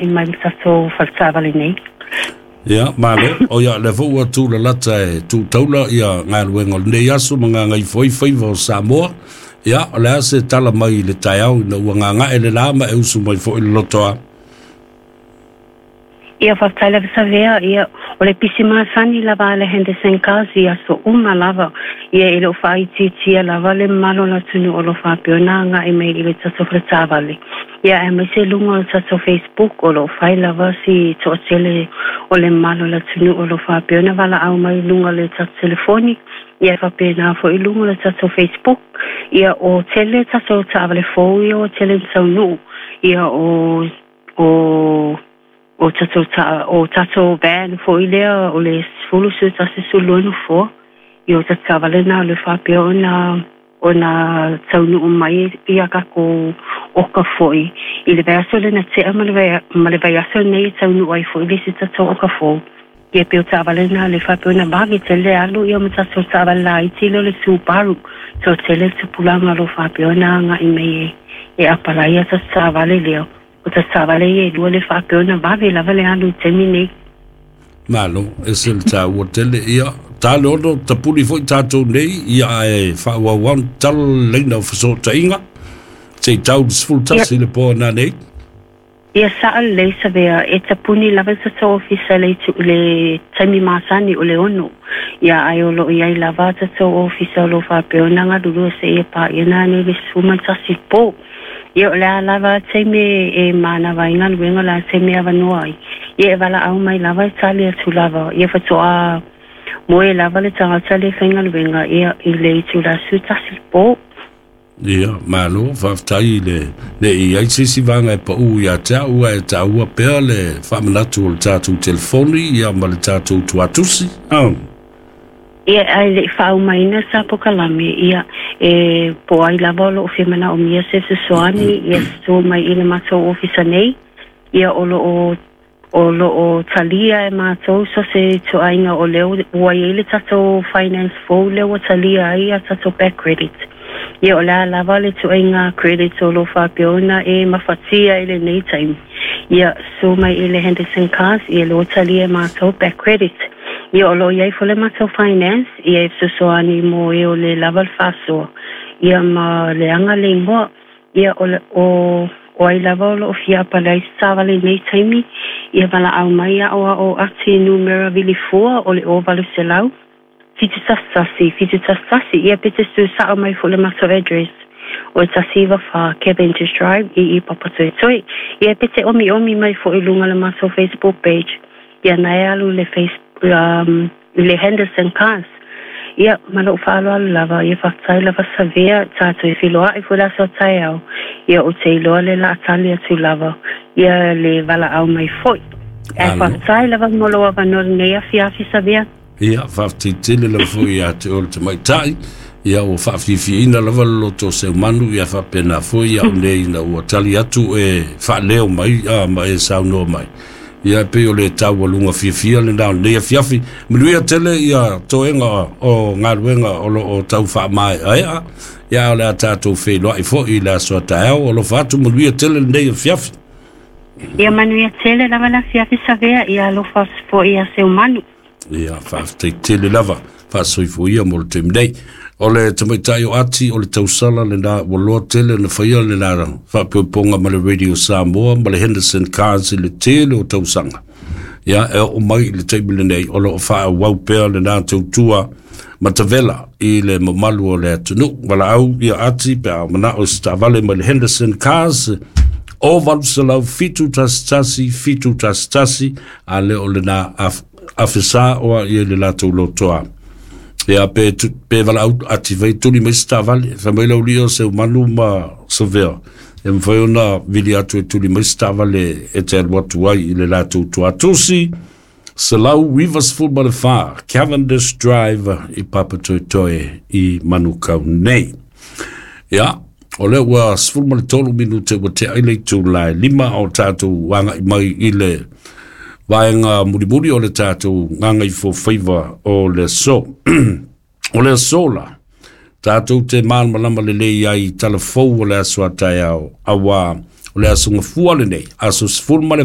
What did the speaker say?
Mai le tatou faletaavale nei. Ia, malo. O ia, lea foi ua tulalata e tūtaula ia galuega o lenei aso ma gagaifo ai faiva o Samoa. Ia, o le a se tala mai i le taeao ina ua gagae le la ma e usu mai foi le lotoa? Ia, faafetai lava Savea. Ia, o le pisi masani lava a le Henderson Cars i aso uma lava. Ia, e le o faaitiitia lava le mamalu o le atunuu o lo o faapea ona agai mai i le tatou faletaavale. Ia, aemaise luga o le tatou Facebook o lo o fai lava si toatele o le mamalu o le atunuu o lo o faapea ona valaau mai i luga o le tatou telefoni, ia e faapena foi i luga o le tatou Facebook. Ia, o tele tatou taavale fou ia ua tele ina taunuu, ia o o o tatou ta o tatou van foi lea o le 10 11 12 nofoa. Ia o tatou taavale na o le faapea ona ona taunuu mai ia tatou oka foi i le vaiaso lea na tea ma le, ma le vaiaso lenei e taunuu ai foi le isi tatou oka fou. Ia pei o taavale na le faapea ona vave tele alu ia ma tatou taavale laiti lea o le Subaru. Toatele le tupulaga o lo o faapea ona agai mai e, e apalai ia tatou taavale lea. O tatou taavale ia e lua le faapea ona vave lava le alu i le taimi nei. Malo, ese le taua tele. Ia, ta le ono tapuni foi tatou nei, ia ae faaauau ona tala le laina o fesootaiga, se i tau le 11 le po a nanei. Ia sao lelei Savea, e tapuni lava le tatou ofisa i le itu i le taimi masani o le 6. Ia ae o lo o i ai lava tatou ofisa o lo o faapea ona galulue seia paia nanei le 11 i le po. Ia o le a lava taimi e manava ai galuega, o le a taimi e avanoa ai, ia e valaau mai lava e tali atu lava. Ia faatoa moe lava le tagata lea e faigaluega ia i le itula 11 i le po. Ia, malo, faafetai i le le i ai se isi vaega e pau ia te au, ae taua pea le faamanatu o le tatou telefoni ia ma le tatou tuatusi. Oh. Ia, ae le i faaumaina sa pokalame, ia, e po ai lava o lo o fia manaomia se fesoasoani, ia susu mai i le matou ofisa nei, ia, o lo o, o lo o talia e matou so o se ituaiga o lea ua i ai le tatou finance fou lea ua talia ai a tatou back credit. Ia, o le a lava le ituaiga credit o lo o faapea ona e mafatia i lenei taimi. Ia, susu mai i le Henderson Cars, ia lea ua talia e matou back credit. Ia, o lo o i ai foi le matou finance, ia e fesoasoani mo e o le lava le faasoa, ia ma leaga le igoa. Ia, o le, o, o ai lava o lo o fia apalai i se taavale i nei taimi, ia valaau mai aoao ati numera vilifua o le 0800 711 711, ia pe te su sao mai foi le matou address o 194 Cavendish Drive i i Papatoetoe. Ia pe te omiomi mai foi i luga le matou Facebook page. Ia na e alu le face, um, le Henderson Cars. Ia, ma lou faaaloalo lava, ia faafetai lava Savea, tatou e feiloai foi le aso a taeao, ia ou te iloa le laa tali atu lava, ia le valaau mai foi. Ae faafetai lava mo lou avanoa lenei afiafi Savea. Ia, faafetai tele lava foi ia te oe le tamaitai, ia ua faafiafiaina lava le loto o Seumanu, ia faapena foi au nei ina ua tali atu e faaleo mai a, ma e saunoa mai. Ia e pei o le taualuga fiafia lena o lenei afiafi. Manuia tele ia toega o galuega o lo o tau faamaeaea, ia o le a tatou feiloai foi i le aso a taeao. Alofa atu, manuia tele lenei afiafi. Ia manuia tele lava le afiafi Savea, ia alofa atu foi ia Seumanu. Ia, faafetai tele lava, faasoifua mo le taimi nei. O le tamaitai o Ati, o le tausala lena ua loa tele na faia le la faapoipoga ma le Radio Samoa ma le Henderson Cars i le tele o tausaga. Ia, e oo mai i le taimi lenei, o lo o faaauau pea lena tautua matavela i le mamalu o le atunuu. Valaau ia Ati pe a manao i se taavale mai le Henderson Cars, o 800 711 711, a le o lena afesa oa ia i le latou lotoa. Ia pe, pe valaau ati fai tuli mai se taavale, fai mai lau lio Seumanu ma Savea. E mafai ona vili atu e tuli mai se taavale e te alu atu ai i le latou tuatusi. 194 Cavendish Drive i Papatoetoe i Manukau nei. Ia, o lea ua 13 minute ua tea i le itula e 5 o tatou agai mai i le vaega mulimuli o le tatou gagaifofaiva o le aso. O le aso la, tatou te malamalama lelei ai i tala fou o le aso a taeao, auā O le aso gafua lenei, aso 18.